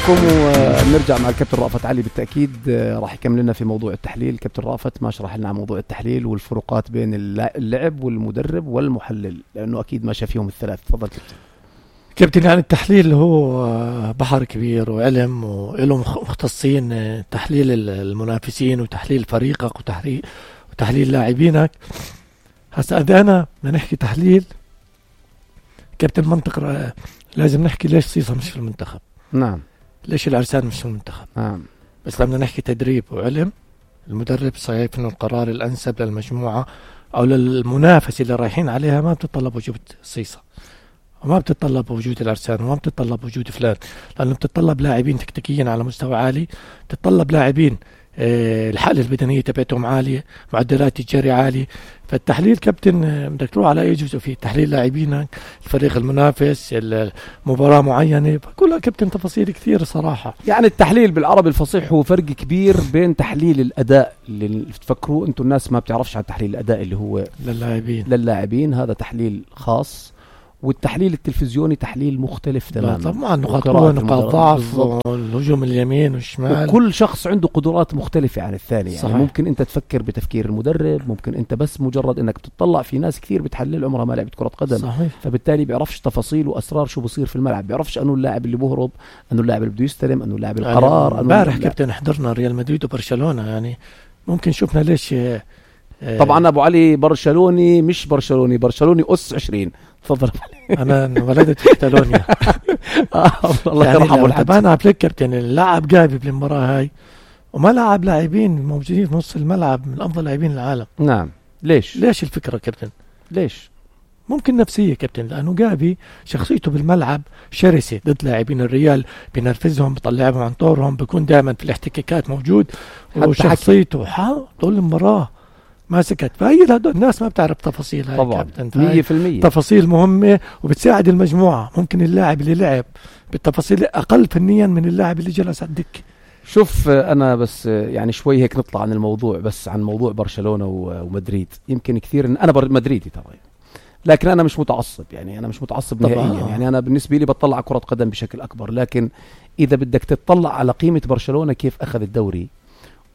لكم ونرجع مع الكابتن رأفت علي. بالتأكيد راح يكمل لنا في موضوع التحليل. كابتن رأفت ما شرح لنا عن موضوع التحليل والفروقات بين اللعب والمدرب والمحلل، لأنه أكيد ما شافيهم الثلاث. تفضل كابتن. يعني التحليل هو بحر كبير وعلم، وله مختصين تحليل المنافسين وتحليل فريقك وتحليل لاعبينك. هسا إذا أنا بدنا نحكي تحليل كابتن منطق، لازم نحكي ليش صيصة مش في المنتخب. نعم. ليش العرسان مش في المنتخب. نعم. بس لما نحكي تدريب وعلم، المدرب صحيح انه القرار الانسب للمجموعة او للمنافسة اللي رايحين عليها ما بتطلب وجود صيصة، وما بتطلب وجود العرسان، وما بتطلب وجود فلان، لانه بتطلب لاعبين تكتيكيين على مستوى عالي، بتطلب لاعبين الحالة البدنية تبعتهم عالية، معدلات الجري عالية. فالتحليل كابتن بدك تروح على اي جزء فيه تحليل لاعبينك، الفريق المنافس، المباراة معينة، كلها كابتن تفاصيل كثير صراحة. يعني التحليل بالعربي الفصيح هو فرق كبير بين تحليل الأداء اللي تفكروا انتم الناس ما بتعرفش عن تحليل الأداء اللي هو للاعبين، هذا تحليل خاص، والتحليل التلفزيوني تحليل مختلف تماما. طبعا نقاط قوة، نقاط ضعف، والهجوم اليمين والشمال، وكل شخص عنده قدرات مختلفة عن الثاني. يعني صحيح. ممكن انت تفكر بتفكير المدرب، ممكن انت بس مجرد انك بتطلع في ناس كثير بتحلل عمرها ما لعبت كرة قدم. صحيح. فبالتالي بيعرفش تفاصيل واسرار شو بصير في الملعب، بيعرفش انه اللاعب اللي بهرب، انه اللاعب اللي بده يستلم، انه اللاعب القرار. امبارح كابتن حضرنا ريال مدريد وبرشلونة، يعني ممكن شفنا ليش. طبعا ابو علي برشلوني، مش برشلوني أس 20. تفضل. انا ولدت في كاتالونيا. الله يرحمه الحاج. انا فليك كابتن اللاعب جايب بالمباراة هاي وما لاعب لاعبين موجودين في نص الملعب من افضل لاعبين العالم. نعم. ليش الفكرة كابتن؟ ليش؟ ممكن نفسية كابتن، لأنه جافي شخصيته بالملعب شرسة ضد لاعبين الريال، بينرفزهم، بيطلعهم عن طورهم، بيكون دائما في الاحتكاكات موجود، وشخصيته طول المباراة ما سكت. فهي الناس ما بتعرف تفاصيل هاي طبعا. كابتن. 100% تفاصيل مهمة وبتساعد المجموعة. ممكن اللاعب اللي لعب بالتفاصيل أقل فنيا من اللاعب اللي جلس على الدكة. شوف أنا بس يعني شوي هيك نطلع عن الموضوع، بس عن موضوع برشلونة ومدريد. يمكن كثير أنا مدريدي طبعا، لكن أنا مش متعصب. يعني أنا مش متعصب نهائيا. يعني أنا بالنسبة لي بطلع كرة قدم بشكل أكبر. لكن إذا بدك تطلع على قيمة برشلونة كيف أخذ الدوري،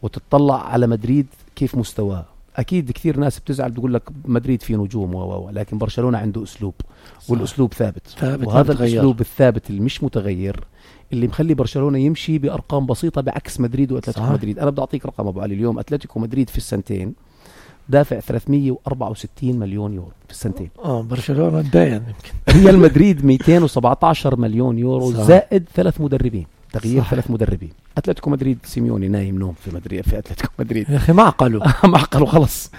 وتطلع على مدريد كيف مستواه، أكيد كثير ناس بتزعل بتقول لك مدريد فيه نجوم لكن برشلونة عنده أسلوب، والأسلوب ثابت وهذا الأسلوب الثابت اللي مش متغير اللي مخلي برشلونة يمشي بأرقام بسيطة بعكس مدريد وأتلتيكو مدريد. أنا بدي أعطيك رقم أبو علي. اليوم أتلتيكو مدريد في السنتين دافع 364 مليون يورو في السنتين. برشلونة داين يمكن. ريال مدريد 217 مليون يورو زائد 3 مدربين، تغيير 3 مدربين. أتلتيكو مدريد سيميوني نايم نوم في مدريد، في أتلتيكو مدريد يا أخي معقلوا خلص.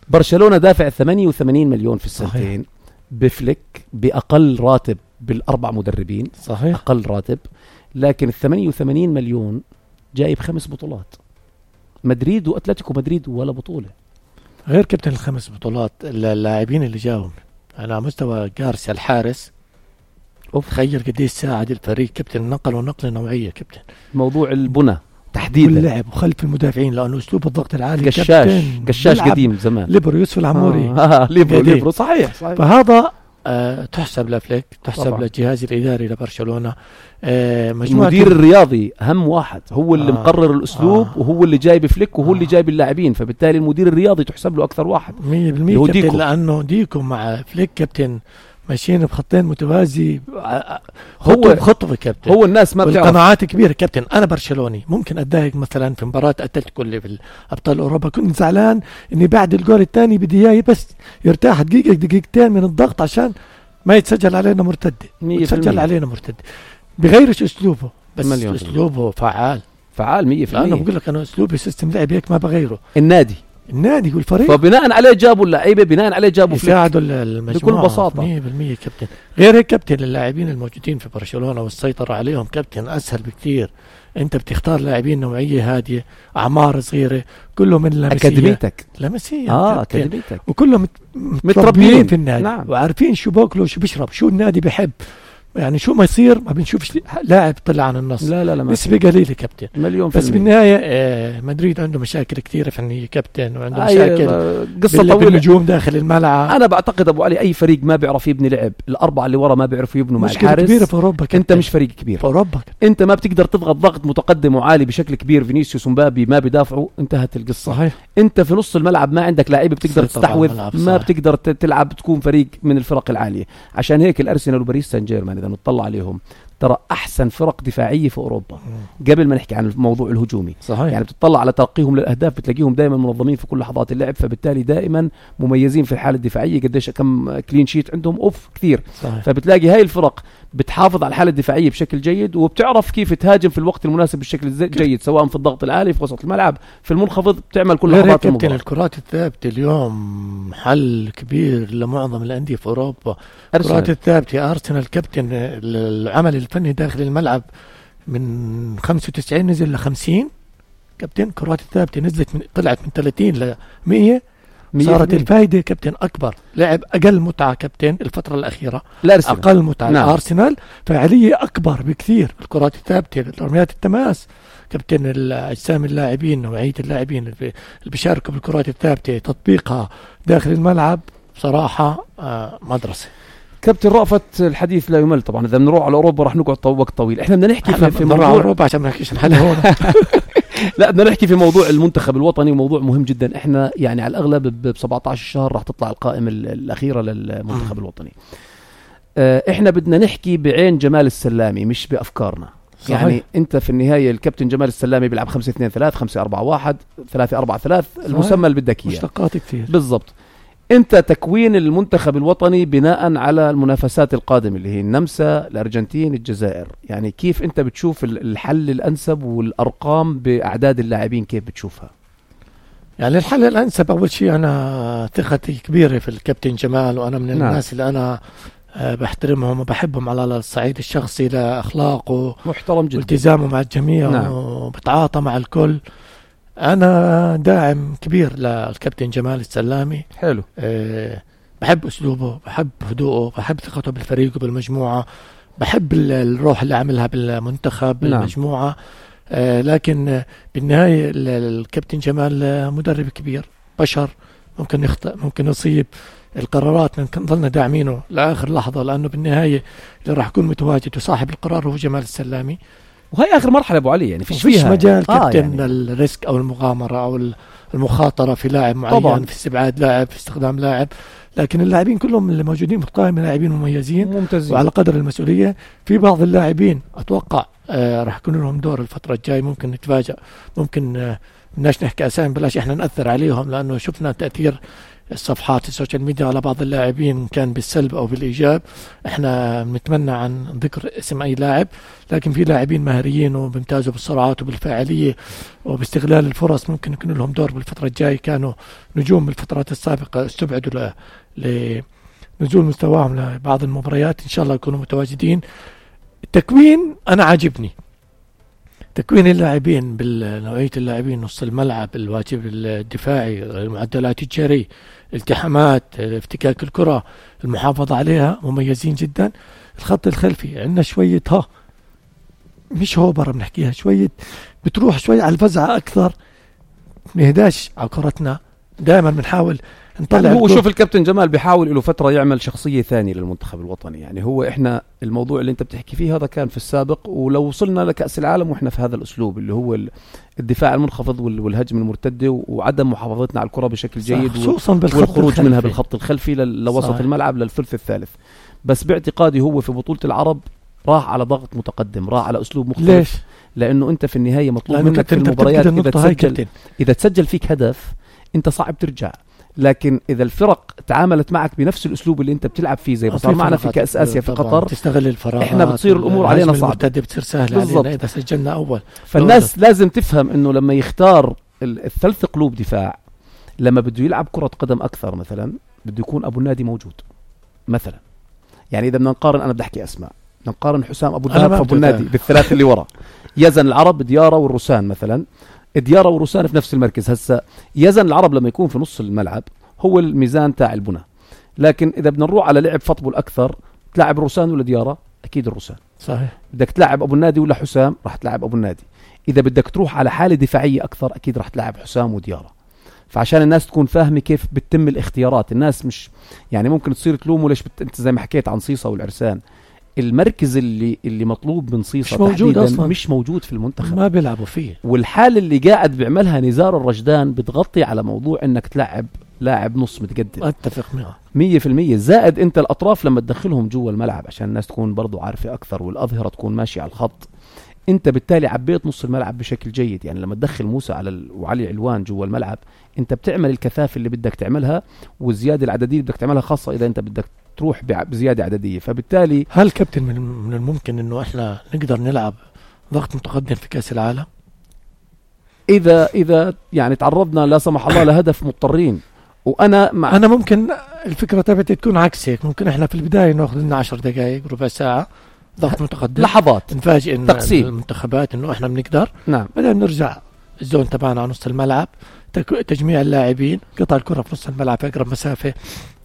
برشلونة دافع 88 مليون في السنتين بفليك بأقل راتب بالأربع مدربين. صحيح. أقل راتب، لكن 88 مليون جايب 5 بطولات. مدريد وأتلتيكو مدريد ولا بطولة. غير كابتن ال5 بطولات اللاعبين اللي جاهم على مستوى جارسيا الحارس. تخيل قديش ساعد الفريق كابتن، نقل نوعية كابتن. موضوع البنى تحديدا واللعب وخلف المدافعين، لأنه أسلوب الضغط العالي. قشاش قديم زمان. ليبرو يوسف العموري. ليبرو صحيح. فهذا تحسب لفليك، تحسب طبعا للجهاز الإداري لبرشلونة. المدير الرياضي أهم واحد، هو اللي مقرر الأسلوب وهو اللي جايب فليك وهو اللي جايب اللاعبين. فبالتالي المدير الرياضي تحسب له أكثر واحد 100% كابتن، لأنه ديكو مع فليك كابتن ماشيين بخطين متوازي، خطوة كابتن. هو الناس ما بتعرف قناعات كبيرة كابتن. أنا برشلوني ممكن أتضايق مثلا في مباراة أتلتيكو اللي في أبطال أوروبا، كنت زعلان إني بعد الجول الثاني بدي إياه بس يرتاح دقيقتين من الضغط عشان ما يتسجل علينا مرتدة. يتسجل علينا مرتدة. بغيرش أسلوبه، بس أسلوبه فعال 100%. أنا بقول لك أنا أسلوبي سيستم لعب هيك ما بغيره. النادي والفريق، فبناء عليه جابوا اللعيبه، بناء عليه جابوا يساعدوا المجموعه بكل بساطه 100% كابتن. غير هيك كابتن اللاعبين الموجودين في برشلونه والسيطره عليهم كابتن اسهل بكثير. انت بتختار لاعبين نوعيه هاديه، اعمار صغيره، كلهم من لمسيه اكاديميتك اكاديميتك، وكلهم متربيين في النادي. نعم. وعارفين شو باكلوا شو بيشرب، شو النادي بيحب. يعني شو ما يصير ما بنشوفش لاعب طلع عن النص. لا نسبة قليلة كابتن مليون بس بالنهاية مدريد عنده مشاكل كثيرة فنية كابتن، وعنده مشاكل قصة طويلة بالنجوم داخل الملعب. أنا بعتقد أبو علي أي فريق ما بيعرف يبني لعب، الأربعة اللي ورا ما بيعرفوا يبنوا مع الحارس. كبيرة في أوروبا كابتن. أنت مش فريق كبير في أوروبا أنت ما بتقدر تضغط ضغط متقدم وعالي بشكل كبير. فينيسيوس ومبابي ما بيدافعوا، انتهت القصة. صحيح. أنت في نص الملعب ما عندك لاعب بتقدر تستحوذ، ما بتقدر تلعب تكون فريق من الفرق العالية. عشان هيك الأرسنال وباريس سان جيرمان إذا نطلع عليهم ترى أحسن فرق دفاعية في أوروبا قبل ما نحكي عن الموضوع الهجومي. صحيح. يعني بتطلع على ترقيهم للأهداف بتلاقيهم دائما منظمين في كل لحظات اللعب، فبالتالي دائما مميزين في الحالة الدفاعية. قديش كم كلين شيت عندهم كثير. صحيح. فبتلاقي هاي الفرق بتحافظ على الحالة الدفاعية بشكل جيد، وبتعرف كيف تهاجم في الوقت المناسب بالشكل جيد، سواء في الضغط العالي في وسط الملعب في المنخفض، بتعمل كل لحظات المباراة. الكرات الثابتة اليوم حل كبير لمعظم الأندية في أوروبا. الكرات الثابتة أرسنال كابتن العمل الفني داخل الملعب من 95 نزل ل50 كابتن. كرات الثابتة نزلت طلعت من 30 ل100. صارت الفايدة كابتن أكبر. لعب أقل متعة كابتن الفترة الأخيرة، أقل متعة. نعم. أرسنال فعالية أكبر بكثير. الكرات الثابتة، رميات التماس كابتن، أجسام اللاعبين، نوعية اللاعبين اللي بيشاركوا بالكرات الثابتة، تطبيقها داخل الملعب بصراحة مدرسة. كابتن رأفت الحديث لا يمل طبعا. إذا بنروح على أوروبا راح نقعد وقت طويل. إحنا بدنا نحكي في موضوع أوروبا عشان ما نحكيش الحل هون. لا بدنا نحكي في موضوع المنتخب الوطني، وموضوع مهم جدا. إحنا يعني على الأغلب ب 17 شهر راح تطلع القائمة الأخيرة للمنتخب الوطني. إحنا بدنا نحكي بعين جمال السلامي مش بأفكارنا. صحيح. يعني أنت في النهاية الكابتن جمال السلامي بيلعب 5-2-3 5-4-1 3-4-3 المسمى اللي بدك إياه، مشتقات كثير بالضبط. انت تكوين المنتخب الوطني بناء على المنافسات القادمة اللي هي النمسا، الأرجنتين، الجزائر. يعني كيف انت بتشوف الحل الأنسب والأرقام بأعداد اللاعبين كيف بتشوفها؟ يعني الحل الأنسب أول شيء أنا ثقتي كبيرة في الكابتن جمال، وأنا من الناس اللي أنا بحترمهم وبحبهم على الصعيد الشخصي لأخلاقه محترم جدا والتزامه مع الجميع. وبتعاطى مع الكل. أنا داعم كبير للكابتن جمال السلامي. حلو. بحب أسلوبه، بحب هدوءه، بحب ثقته بالفريق وبالمجموعة، بحب الروح اللي عملها بالمنتخب بالمجموعة. لكن بالنهاية الكابتن جمال مدرب كبير، بشر، ممكن يخطئ، ممكن يصيب. القرارات ممكن ظلنا داعمينه لآخر لحظة، لأنه بالنهاية اللي راح يكون متواجد وصاحب القرار هو جمال السلامي. وهي آخر مرحلة أبو علي، يعني فيش مجال كابتن يعني الريسك أو المغامرة أو المخاطرة في لاعب معين طبعاً. في استبعاد لاعب، في استخدام لاعب. لكن اللاعبين كلهم اللي موجودين في القائمة لاعبين مميزين ممتازين وعلى قدر المسؤولية. في بعض اللاعبين أتوقع راح يكون لهم دور الفترة الجاي، ممكن نتفاجأ، ممكن بدناش نحكي أسامي، بلاش إحنا نأثر عليهم، لأنه شفنا تأثير الصفحات السوشيال ميديا على بعض اللاعبين كان بالسلب أو بالإيجاب. احنا بنتمنى عن ذكر اسم أي لاعب، لكن في لاعبين مهريين وبيمتازوا بالسرعات وبالفاعلية وباستغلال الفرص، ممكن يكون لهم دور بالفترة الجاية. كانوا نجوم بالفترات السابقة استبعدوا لنزول مستواهم لبعض المباريات، إن شاء الله يكونوا متواجدين. التكوين أنا عاجبني، تكوين اللاعبين بالنوعية اللاعبين، نص الملعب، الواجب الدفاعي، المعدلات الجري، الالتحامات، افتكاك الكرة، المحافظة عليها، مميزين جدا. الخط الخلفي عندنا شوية مش هوبر بنحكيها، شوية بتروح شوية على الفزعة أكثر، نهداش على كرتنا، دائما بنحاول نطلع. يعني هو شوف الكابتن جمال بيحاول له فترة يعمل شخصية ثانية للمنتخب الوطني. يعني هو إحنا الموضوع اللي أنت بتحكي فيه هذا كان في السابق، ولو وصلنا لكأس العالم وإحنا في هذا الأسلوب اللي هو الدفاع المنخفض والهجم المرتدة وعدم محافظتنا على الكرة بشكل جيد، والخروج منها بالخط الخلفي لوسط الملعب للثلث الثالث. بس باعتقادي هو في بطولة العرب راح على ضغط متقدم، راح على أسلوب مختلف. ليش؟ لأنه أنت في النهاية مطلوب منك في المباريات إذا تسجل فيك هدف أنت صعب ترجع. لكن إذا الفرق تعاملت معك بنفس الأسلوب اللي أنت بتلعب فيه زي ما صار معنا في كأس آسيا في قطر، تستغل الفراغات، إحنا بتصير الأمور علينا صعبة، بتصير سهلة علينا إذا سجلنا أول. فالناس لازم تفهم إنه لما يختار الثلاث قلوب دفاع، لما بده يلعب كرة قدم أكثر مثلا بده يكون أبو النادي موجود مثلا. يعني إذا بدنا نقارن، أنا بدي أحكي أسماء، نقارن حسام أبو الدهب فأبو النادي بالثلاث اللي ورا، يزن العرب، ديارة والروسان مثلا. ديارة وروسان في نفس المركز. هسا يزن العرب لما يكون في نص الملعب هو الميزان تاع البناء، لكن إذا بدنا نروح على لعب فطبل أكثر، تلعب روسان ولا ديارة، أكيد الرسان. صحيح. بدك تلعب أبو النادي ولا حسام، راح تلعب أبو النادي. إذا بدك تروح على حالة دفاعية أكثر أكيد راح تلعب حسام وديارة. فعشان الناس تكون فاهمة كيف بتتم الاختيارات، الناس مش يعني ممكن تصير تلومه ليش أنت زي ما حكيت عن صيصة والعرسان، المركز اللي مطلوب من صيصة مش موجود أصلا، مش موجود في المنتخب، ما بيلعبوا فيه. والحالة اللي قاعد بيعملها نزار الرجدان بتغطي على موضوع انك تلعب لاعب نص متقدم. اتفق معه 100%. زائد انت الاطراف لما تدخلهم جوا الملعب عشان الناس تكون برضو عارفة اكثر والاظهرة تكون ماشية على الخط، انت بالتالي عبيت نص الملعب بشكل جيد. يعني لما تدخل موسى وعلي علوان جوا الملعب انت بتعمل الكثافة اللي بدك تعملها والزيادة العددية اللي بدك تعملها، خاصة اذا انت بدك تروح بزيادة عددية. فبالتالي هل كابتن من الممكن انه احنا نقدر نلعب ضغط متقدم في كأس العالم؟ اذا يعني تعرضنا لا سمح الله لهدف مضطرين، انا ممكن الفكرة تبعتي تكون عكس هيك. ممكن احنا في البداية ناخذ لنا 10 دقائق ربع ساعة ضغط متقدم، لحظات نفاجئ إن تقسيم المنتخبات انه احنا بنقدر. نعم. بعدين نرجع الزون تبعنا على نص الملعب، تجميع اللاعبين، قطع الكرة في نص الملعب في أقرب مسافة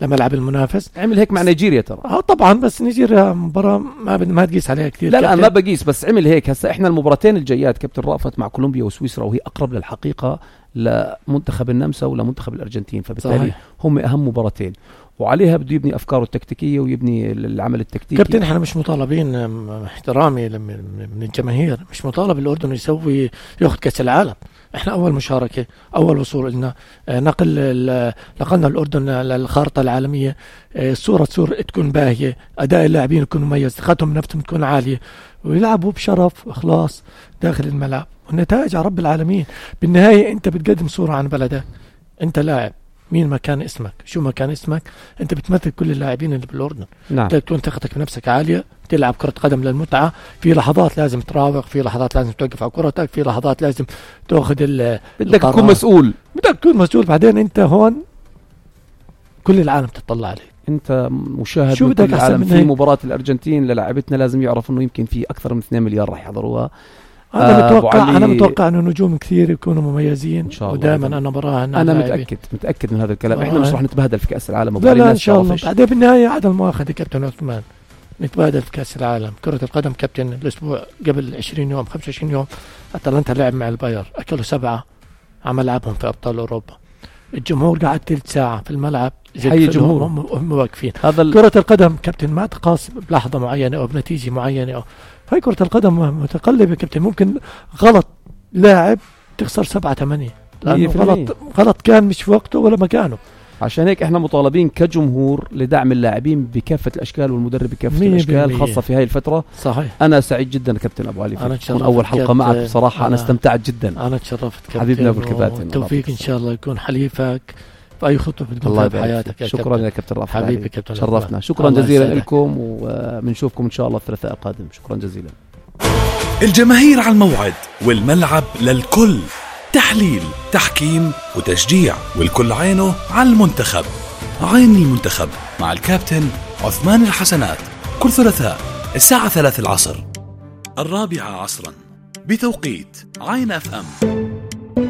لملعب المنافس. عمل هيك مع نيجيريا ترى. طبعا، بس نيجيريا مباراة ما تقيس عليها كثير. لا ما بقيس، بس عمل هيك. هسا احنا المباراتين الجايات كابتن رأفت مع كولومبيا وسويسرا، وهي أقرب للحقيقة لمنتخب النمسا ولا منتخب الأرجنتين، فبالتالي صحيح. هم أهم مباراتين وعليها بده يبني أفكاره التكتيكية ويبني العمل التكتيكي. كابتن احنا مش مطالبين، احترامي من الجماهير، مش مطالب الأردن ياخذ كأس العالم. احنا اول مشاركة، اول وصول لنا، نقلنا الأردن للخارطة العالمية. الصورة تكون باهية، اداء اللاعبين يكون مميز، ثقتهم بنفسهم تكون عالية، ويلعبوا بشرف واخلاص داخل الملعب، والنتائج على رب العالمين. بالنهاية انت بتقدم صورة عن بلدك، انت لاعب مين ما كان اسمك، شو ما كان اسمك، انت بتمثل كل اللاعبين اللي بالاردن. نعم. انت تكون ثقتك بنفسك عاليه، تلعب كره قدم للمتعه، في لحظات لازم تراوغ، في لحظات لازم توقف على كرتك، في لحظات لازم تاخذ بدك تكون مسؤول، بعدين انت هون كل العالم تطلع عليك، انت مشاهد من كل العالم. في مباراه الارجنتين للاعبتنا لازم يعرف انه يمكن في اكثر من 2 مليار راح يحضروها. أنا متوقع أنه نجوم كثير يكونوا مميزين، ودائما أنا براهن. أنا متأكد من هذا الكلام. إحنا مش راح نتبهدل في كأس العالم. لا إن شاء الله. بعدين بالنهاية عدم مؤاخذة كابتن عثمان، نتبادل في كأس العالم كرة القدم. كابتن الأسبوع قبل 20 يوم 25 يوم أتلانتا لعب مع الباير، أكلوا 7 عم لعبهم في أبطال أوروبا. الجمهور قاعد 3 ساعة في الملعب، حي الجمهور هم واقفين. كرة القدم كابتن ما تقاس بلحظة معينة أو بنتيجة معينة أو هاي كرة القدم متقلبة كابتن. ممكن غلط لاعب تخسر 7-8 لأنه غلط كان مش في وقته ولا مكانه. عشان هيك احنا مطالبين كجمهور لدعم اللاعبين بكافة الأشكال والمدرب بكافة الأشكال، خاصة في هاي الفترة. صحيح. أنا سعيد جدا كابتن أبو علي، تكون أول حلقة معك بصراحة. أنا استمتعت جدا. أنا تشرفت كابتن حبيبنا أبو الكباتن. التوفيق إن شاء الله يكون حليفك في أي خطوة بتكون في حياتك. شكرا يا كابتن رافع، حبيبي كابتن، شرفنا. شكرا جزيلا لكم، وبنشوفكم إن شاء الله الثلاثاء القادم. شكرا جزيلا. الجماهير على الموعد، والملعب للكل، تحليل، تحكيم وتشجيع، والكل عينه على المنتخب. عين المنتخب مع الكابتن عثمان الحسنات، كل ثلاثاء الساعة 3 العصر، 4 عصرا بتوقيت عين FM.